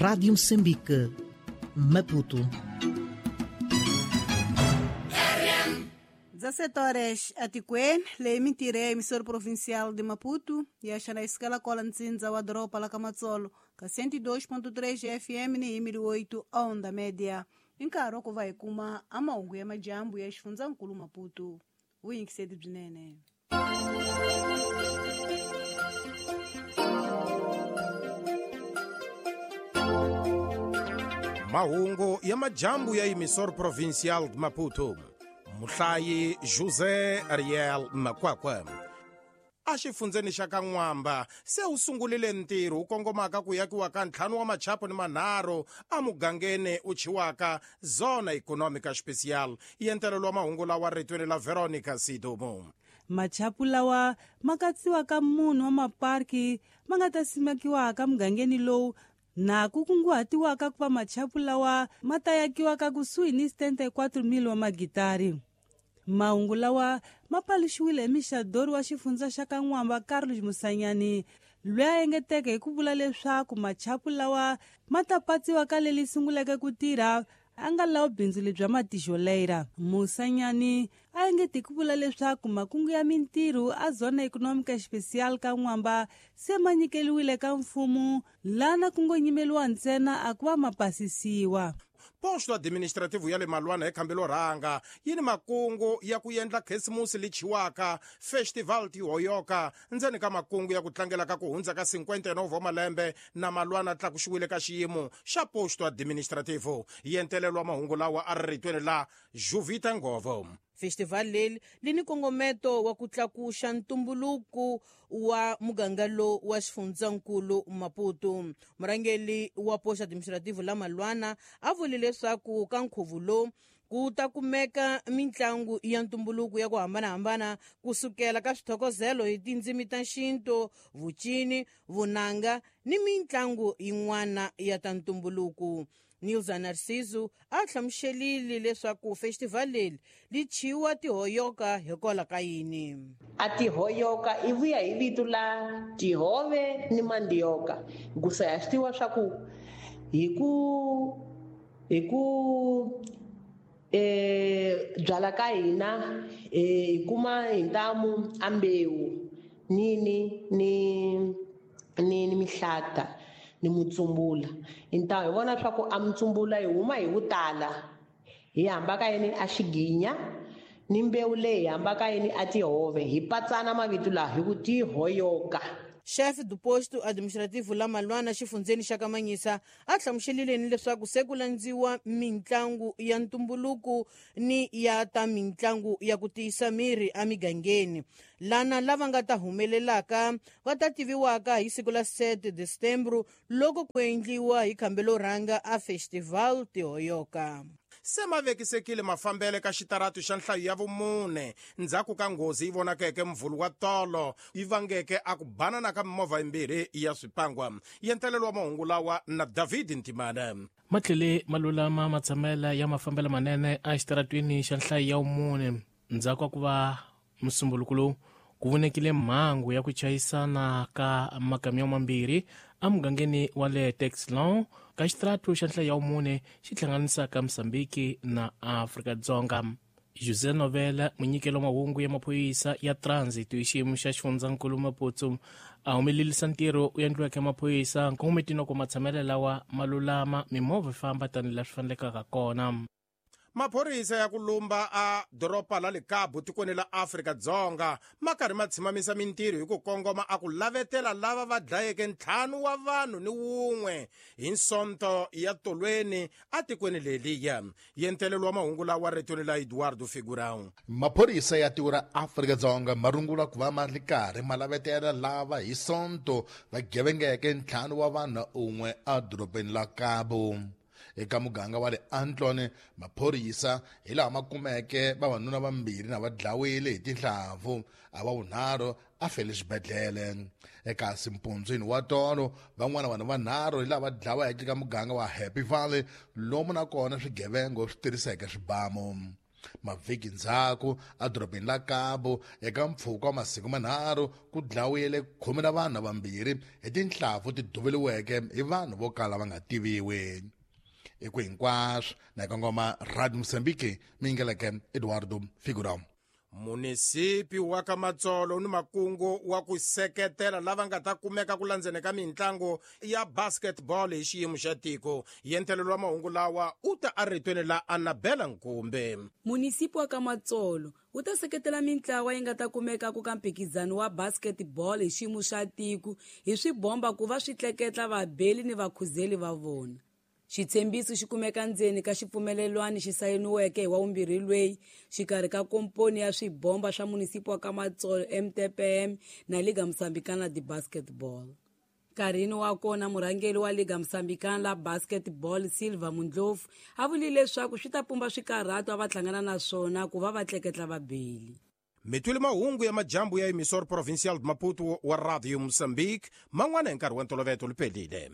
Rádio Moçambique, Maputo. 17 horas atikweni leyi mintirho ya emissora provincial de Maputo ya xana isikala kola ntsindza wa doroba la Kamatsolo ka 102.3 FM ni 8 onda média. I nkarhi wa ku va hi kuma a mahungu ya majambu ya xifundzankulu Maputo. Vuyingiseti byinene. Mahungu ya majambu ya emissora provincial de Maputo. Muhlayi José Ariel Makwakwa. A xifundzeni xa ka N'wamba se wu sungurile ntirho wu kongomaka ku yakiwa ka 5 wa machapo ni manharhu emugangeni u chiwaka Zona Econômica Especial. Yentelelo wa mahungu lawa ritweni la Veronica Sidumo. Machapu lawa ma katsiwaka munhu wa maparki ma nga ta simekiwaka mugangeni lowu na ku kunguhatiwaka ku va machapu lawa ma ta yakiwaka kusuhi ni 74,000 wa magitari. Mahungu lawa ma paluxiwile hi mixadori wa xifundza xa ka N'wamba Carlos Musanyani, loyi a engeteke hi ku vula leswaku machapu lawa ma ta patsiwa ka leli sunguleke ku tirha a nga lawa bindzu lebya matijoleira. Musanyani a engete hi ku vula leswaku makungu ya mintirho a Zona Econômica Especial ka N'wamba se ma nyikeliwile ka mfumo lana ku ngo nyimeliwa ntsena a ku va ma pasisiwa. Posto administrativo ya le Malwana hi khambelo rhanga yi ni makungu ya ku endla Khisimusi lichiwaka Festival Tihoyoka ndzeni ka makungu ya ku tlangela ka ku hundza ka 59 wa malembe na Malwana tlakuxiwile ka xiyimo xa posto administrativo. Yentelelo wa mahungu lawa a ri ritweni la Juvita Ngovo. Festival leri li ni nkongometo wa ku tlakuxa ntumbuluko wa muganga lowu wa xifundzankulu Maputo. Murhangeri wa posto administrativo la Malwana a vule leswaku ka nkhuvo lowu ku ta kumeka mitlangu ya ntumbuluko ya ku hambanahambana kusukela ka swithokozelo hi tindzimi ta xintu, vucini, vunanga ni mitlangu yin'wana ya ta ntumbuluko. Nilza Narciso a hlamuselile leswaku festival leri li chiwa Tihoyoka hikwalaho ka yini. A Tihoyoka i vuya hi vito la tihove ni mandioka. Hikusa ya swi tiva swa ku hi ku byala ka hina hi kuma hi ntamu a mbewu ni ni ni ni mihlata ni mutsumbula. Hi vona swa ku a mutsumbula hi huma hi vutala hi hamba ka yini a xiginya ni mbewu leyi hi hamba ka yini a tihove hi patsana mavito laha hi ku Tihoyoka. Chef du posto administrativo la Malwana xifundzeni xa Kamanyisa a hlamuselile ni leswaku se ku landziwa mitlangu ya ntumbuluko ni ya ta mitlangu ya ku tiyisa miri emigangeni. Lana lava nga ta humelelaka va ta tiviwaka hi siku la 7 December loko ku endliwa hi khambelo rhanga a Festival Tihoyoka. Se ma vekisekile mafambele ka xitaratu xa nhlayo ya vumune ndzhaku ka nghozi yi vonakeke mvulu wa tolo yi vangeke a ku banana ka mimovha yimbirhi ya swipangwa. Yentelelo wa mahungu lawa na David Ntimana. Matlhele malulama matshamela ya mafambelo manene a xitaratwini xa nhlayo ya vumune ndzhaku ka ku va musumbuluko lowu ku vonekile mhangu ya ku chayisana ka makamyo mambirhi emugangeni wa le Texlon ka xitaratu xa nhlayo ya vumune xi hlanganisaka Mozambique na Afrika-Dzonga. José Novela, munyikelo wa mahungu ya maphorisa ya transit hi xiyimo xa xifundzankulu Maputo, a humelerisa ntirho wu endliweke maphorisa nkongometini ku matshamelo lawa malulama mimovha famba tanihi laha swi fanelekaka kona. Maphorisa ya ku lumba a doroba la le Cabo tikweni la Afrika-Dzonga ma karhi ma tshimamisa mintirho hi ku kongoma a ku lavetela lava va dlayeke 5 wa vanhu ni wun'we hi Nsonto ya tolweni a tikweni leliya. Yentelelo wa mahungu lawa ritweni la Eduardo Figurão. Maphorisa ya tiko ra Afrika-Dzonga ma rungula ku va ma ri karhi ma lavetela lava hi Sonto va gevengeke 5 wa vanhu un'we edorobeni la Cabo. Eka muganga wa le Antlone, maphorisa hi laha ma kumeke vavanuna vambirhi na va dlawile hi tinhlampfu, a va vunharhu a fele xibedhlele. Eka simpundzwini wa tolo, van'wana vanhu vanharhu hi laha va dlaweke eka muganga wa Happy Valley, lomu na kona swigevengo swi tirhiseke swibamu. Mavhiki ndzhaku edorobeni la Cabo eka mpfhuka wa masiku manharhu ku dlawile 12 vanhu vambirhi hi tinhlampfu ti duvuriweke hi vanhu vo kala va nga tiviwi. I ku hinkwaswo na kongoma Radio Mozambique mi yingeleke Eduardo Figurão. Munisipi wa ka Matsolo ni makungu wa ku seketela lava nga ta kumeka ku landzeni ka mitlangu ya basketball hi xiyimo xa tiko. Yentelelo wa mahungu lawa u ta eritweni la Anabela Nkumbe. Munisipi wa ka Matsolo wu ta seketela mintlawa yi nga ta kumeka ku ka mphikizano wa basketball hi xiyimo xa tiko hi swibomba ku va swi tleketla vabeli ni vakhuzeli va vona. Xitshembiso xi kumeka ndzeni ka xipfumelelwano xi sayiniweke hi wa vumbirhi lweyi xikarhi ka komponi ya swibomba swa munisipi wa ka Matsolo, MTPM, na Liga Moçambicana de Basketball. Nkarhini wa kona, murhangeri wa Liga Moçambicana la Basketball, Silva Mundlofu, a vulile leswaku swi ta pumba swikarhato a va hlangana na swona ku va va tleketla vabeli. Mitwile mahungu ya majambu ya Emissor Provincial de Maputo wa Radio Moçambique. Man'wana hi nkarhi wa ntolovelo lupelile.